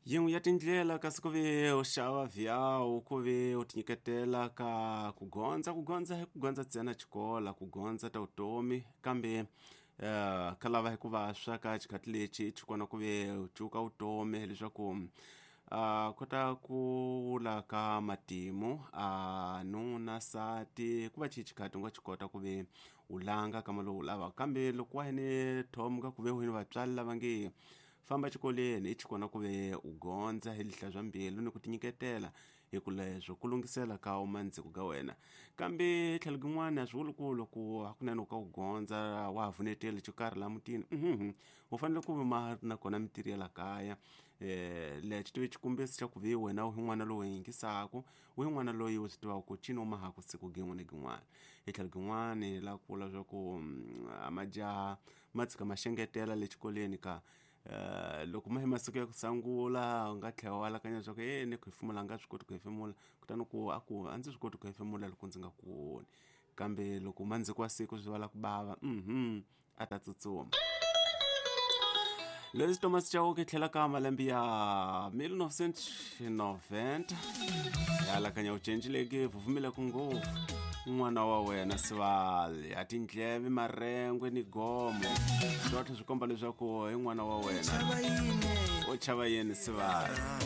Yin'we ya tindlela kasi ku ve u xava vhiyawu ku ve u tinyiketela ka ku gondza ku gondza hi ku gondza ntsena xikola ku gondza ta vutomi kambe ka lava hi ku va swa ka xikhathi lexi xi kona ku ve u cuka vutomi leswaku a kota ku wula ka matimu a nuna nsati ku va xi xikhathi u nga xi kota ku ve u langa kama lowu u lavaka kambe loko wa hene thomuka ku ve u ni vatswari lava nge famba xikolweni i xikona ku ve u gondza hi lihla bya mbilu ni ku tinyiketela hi ku leswo ku lunghisela ka umandziko ka wena kambe tlhelo kin'wana a swi vuli ku loko hakunene u ka u gondza wa ha vuneteli xo karhi laha mutini u fanele ku ma ri na kona mintirho ya la kaya lexi tive xikombiso xa ku ve wena u hi n'wana lowu yingisaku u hi n'wana loyi u swi tivaka ku cini u mahaku siku gin'we ni gin'wana hi tlhelo kin'wani la ku vula swa ku majaha ma tshika ma xengetela le xikolweni ka loko ma hi masiku ya ku sungula u nga tlhela u alakanya leswaku e ni ku hefemula a nga swi koti ku hefemula kutani ku a ku a ndzi swi koti ku hefemula loko ndzi nga ku voni kambe loko mandziko wa siku swi vala ku bava a ta tsutsuma. Leswi Thomas Chauke tlhela ka malembe ya 1990 ya alakanya u cencileke vuvumile ku ngopfu n'wana wa wena sivali ya tindleve marengwe ni gomo swotlhe swi komba leswaku i n'wana wa wena u chava yini sivali.